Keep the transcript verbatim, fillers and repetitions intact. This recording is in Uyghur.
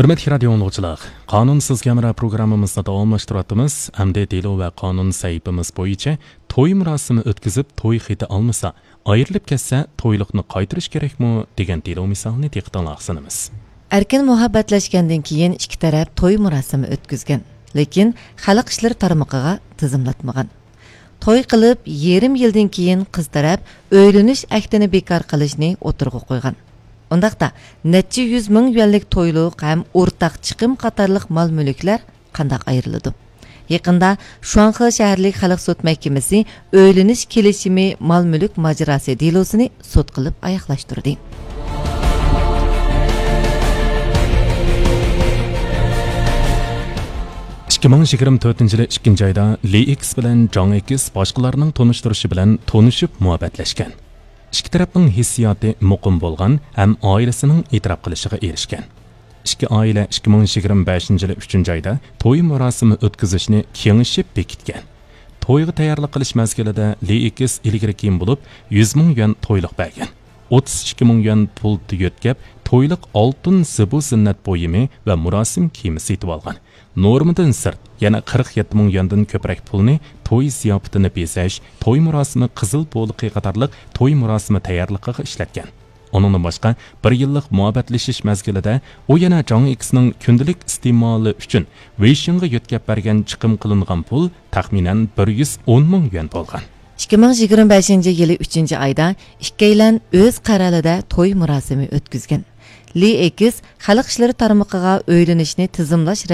ھۆرمەتلىك رادىيو ئاڭلىغۇچىلار، قانۇنسىز ھەمراھ پروگراممىمىزنى داۋاملاشتۇرۇۋاتىمىز. ئەمدى دېلو ۋە قانۇن سەھىپىمىز بويىچە توي مۇراسىمى ئۆتكۈزۈپ، توي خېتى ئالمىسا، ئايرىلىپ كەتسە، تويلۇقنى قايتۇرۇش كېرەكمۇ دېگەن دېلو مىسالىنى دىققىتىڭلارغا سۇنىمىز. ئەركىن مۇھەببەتلەشكەندىن كېيىن ئىككى تەرەپ توي مۇراسىمى ئۆتكۈزگەن، لېكىن خەلق ئىشلىرى تارمىقىغا تىزىملاتمىغان. توي قىلىپ يېرىم يىلدىن كېيىن قىز تەرەپ ئۆيلىنىش ئەھدىنى بىكار قىلىشنى ئوتتۇرىغا قويغان. ئۇنداقتا نەچچە يۈز مىڭ يۈەنلىك تويلۇق ھەم ئورتاق چىقىم قاتارلىق مال-مۈلۈكلەر قانداق ئايرىلىدۇ؟ يېقىندا شۇاڭخې شەھەرلىك خەلق سوت مەھكىمىسى ئۆيلىنىش كېلىشىمى مال-مۈلۈك ماجىراسى دېلوسىنى سوت قىلىپ ئاياغلاشتۇردى. ئىككى مىڭ يىگىرمە تۆتىنچى يىلى ئىككىنچى ئايدا لى ئېكس بىلەن جاڭ ئېكس باشقىلارنىڭ تونۇشتۇرۇشى بىلەن تونۇشۇپ مۇھەببەتلەشكەن. ئىككى تەرەپنىڭ ھېسسىياتى مۇقىم بولغان ھەم ئائىلىسىنىڭ ئېتىراپ قىلىشىغا ئېرىشكەن. ئىككى ئائىلە ئىككى مىڭ يىگىرمە بەشىنچى يىلى ئۈچىنچى ئايدا توي مۇراسىمى ئۆتكۈزۈشنى كېڭىشىپ بېكىتكەن. تويغا تەييارلىق قىلىش مەزگىلىدە لى ئېكس ئىلگىرى كېيىن بولۇپ يۈز مىڭ يۈەن تويلۇق بەرگەن. ئوتتۇز ئىككى مىڭ يۈەن پۇل يۆتكەپ، تويلۇق ئالتۇن زىبۇ زىننەت بۇيۇمى ۋە مۇراسىم كىيىمى سېتىۋالغان. نورمىدىن سىرت يەنە قىرىق يەتتە مىڭ يۈەندىن كۆپرەك پۇلنى توي زىياپىتىنى بېزەش، توي مۇراسىمى قىزىل بولىقى قاتارلىق توي مۇراسىمى تەييارلىقىغا ئىشلەتكەن. ئۇنىڭدىن باشقا، بىر يىللىق مۇھەببەتلىشىش مەزگىلىدە ئۇ يەنە جاڭ ئېكسنىڭ كۈندىلىك ئىستېمالى ئۈچۈن ۋېيشىڭغا يۆتكەپ بەرگەن چىقىم قىلىنغان پۇل تەخمىنەن بىر يۈز ئون مىڭ يۈەن بولغان. ئىككى مىڭ يىگىرمە بەشىنچى يىلى ئۈچىنچى ئايدا ئىككىيلەن ئۆز قەرەلىدە توي مۇراسىمى ئۆتكۈزگەن. لى ئېكس خەلق ئىشلىرى تارمىقىغا ئۆيلىنىشنى تىزىملاش